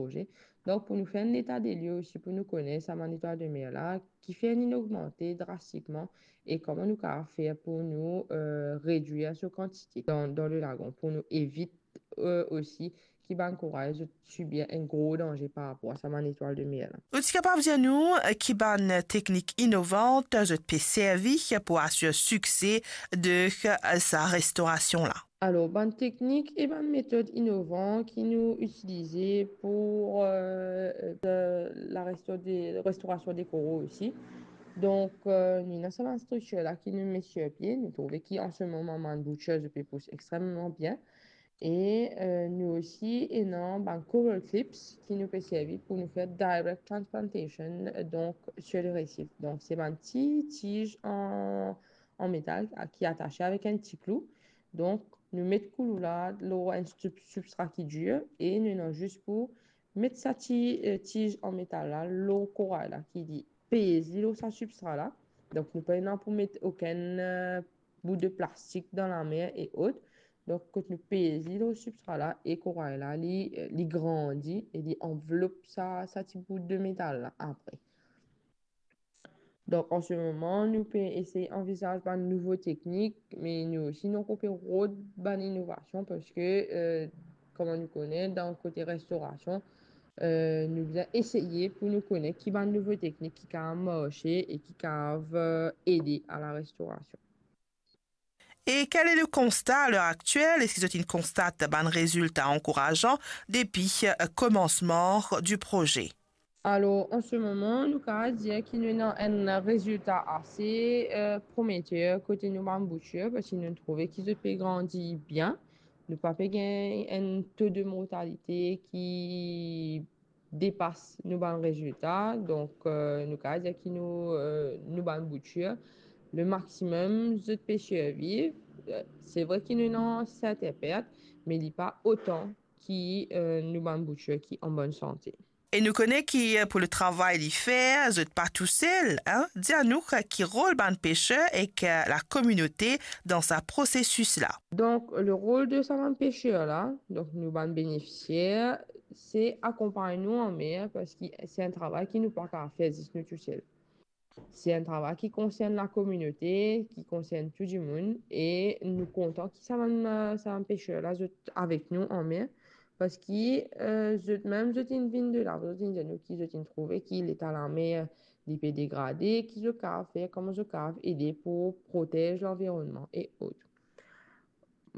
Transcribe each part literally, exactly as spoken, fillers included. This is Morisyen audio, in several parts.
proze. Donk, pou nou fer enn leta de lye osi, pou nou kone sa bann zetwal de mer la, ki fer inn ogmante drastikman e kouma nou kapav fer pou nou, eh, redwir so kantite dan, dan le lagon, pou nou evit, eh, osi ki bann koray zot sibir enn gro danze par rapor a sa bann zetwal de mer la. Ou ti kapav dir nou, eh, ki bann teknik inovan zot pe servi pou asir sikse de, eh, sa restorasion la? Alor, bann teknik e bann metod inovan ki nou itilize pou, eh, eh, la resto-, de, restorasion de koro osi. Donk, eh, nou ena sa bann striktir la ki nou met sir pie. Nou trouve ki an se moman bann boutir zot pe pous extrememan bien. E, eh, nou osi ena bann coral clips ki nou pe servi pou nou fer direct transplantation, eh, donk sir le resif. Donk, se bann ti tiz an, an metal a, ki atase avek enn ti klou. Donk, nou met klou la lor enn sub-, sibstra ki dir e nou ena zis pou met sa ti, eh, tiz an metal la lor koray la, ki li pez li lor sa sibstra la. Donk, nou pa ena pou met okenn, eh, bout de plastik dan lamer e ot. Donk, kot nou pez li lor sibstra la e koray la, li, eh, li grandi e li anvlop sa, sa ti bout de metal la apre. Donk, an se moman, nou pe esey anvizaz bann nouvo teknik, me nou osi, nou ankor pe rod bann inovasion parski, eh, kouma nou kone, dan kote restorasion, eh, nou bizin eseye pou nou kone ki bann nouvo teknik ki kapav marse e ki kapav, eh, ede a la restorasion. Et quel est le constat à l'heure actuelle? Eski zot inn konstat bann rezilta ankourasan depi, eh, komansman du proze? Alor, an se moman, nou kapav dir ki nou ena enn rezilta ase, eh, prometer kote nou bann boutir, parski nou trouve ki zot pe grandi bien. Nou pa pe gagn enn to de mortalite ki depas nou bann rezilta. Donk, eh, nou kapav dir ki nou, eh, nou bann boutir, le maximum zot pe sirviv. Eh, se vre ki nou ena sertin pert, me li pa otan ki, eh, nou bann boutir ki an bonn sante. E nou kone ki, eh, pou le travay li fer, zot pa tousel, hein? Dir nou, eh, ki rol bann peser ek, eh, lakominote dan sa prosesis la. Donk, le rol de sa bann peser la, donk nou bann benefisier, se akonpagn nou anmer, parski se enn travay ki nou pa kapav fer zis nou tousel. Se enn travay ki konsern lakominote, ki konsern tou dimoun, e nou kontan ki sa bann, sa bann peser la, zot avek nou anmer, parski, eh, zot mem, zot inn vinn de la, zot inn dir nou ki zot inn trouve ki leta lamer, li pe degrade, ki zot kapav fer, kouma zot kapav ede pou protez lanvironnman e ot.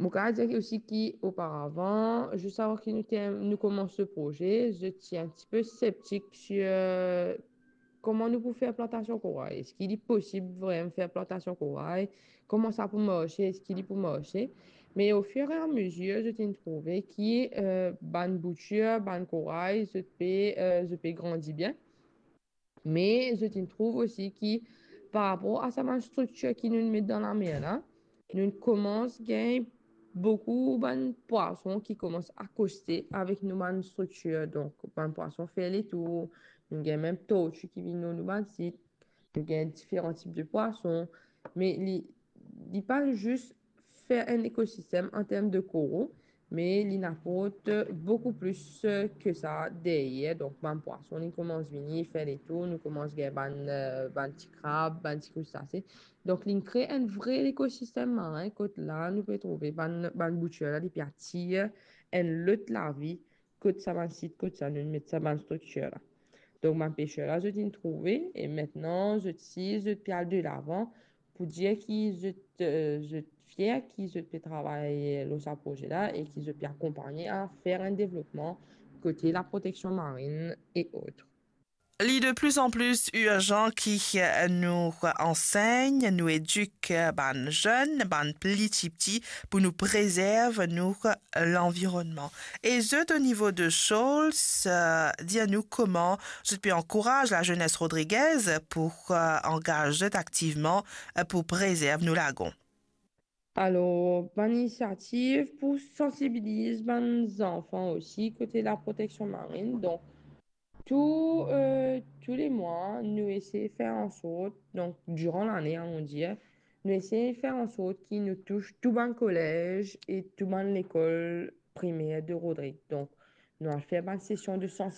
Mo kapav dir osi ki oparavan, zis avan ki nou term-, nou koumans le proze, zot ti enn tipe septik sir, eh, kouma nou pou fer plantasion koray. Eski li posib vremem fer plantasion koray? Kouma sa pou marse? Eski li pou marse? Me ofirameazir, zot inn trouve ki, eh, bann boutir, bann koray, zot pe, eh, zot pe grandi bien. Me zot inn trouv osi ki par rapor a sa bann striktir ki nou met dan lamer la, nou koumans gagn boukou bann pwason ki koumans akoste avek nou bann striktir. Donk, bann pwason fer letour, nou gagn mem torti ki vinn lor nou bann sit, nou gagn diferan tip de pwason. Me li, li pa zis fer enn ekosistem an term de koro, me li aport boukou plis, eh, ke sa deryer. Donk, bann pwason, li koumans vini, fer letour, nou koumans gagn bann, eh, bann ti krab, bann ti kristase. Donk, li kre enn vre ekosistem marin, kot la, nou pe trouve bann, bann boutir la, li pe atir enn lot lavi, kot sa bann sit, kot sa nou met sa bann striktir la. Donk, bann peser la, zot inn trouve, e aster, zot si, zot pe al delavan, pou dir ki zot, eh, zot fier ki zot pe travay lor sa proze la e ki zot pe akonpagne a fer enn devlopman kote laproteksion marin e ot. Li de plus en plus irzan ki, eh, nou ansegn, nou edik, eh, bann zenn, bann pli tipti pou nou prezerv nou lanvironnman. E zot, o nivo de Shoals, eh, dir nou kouma zot pe ankouraz lazenes rodrigez pou, eh, angaz zot aktivman, eh, pou prezerv nou lagon. Alor, bann inisiativ pou sansibiliz bann zanfan osi kote laproteksion marin. Donk, tou, eh, tou le mwa, nou esey fer ansort, donk, diran lane, on dir, nou esey fer ansort ki nou tous tou bann kolez e tou bann lekol primer de Rodrig. Donk, nou al fer bann sesion de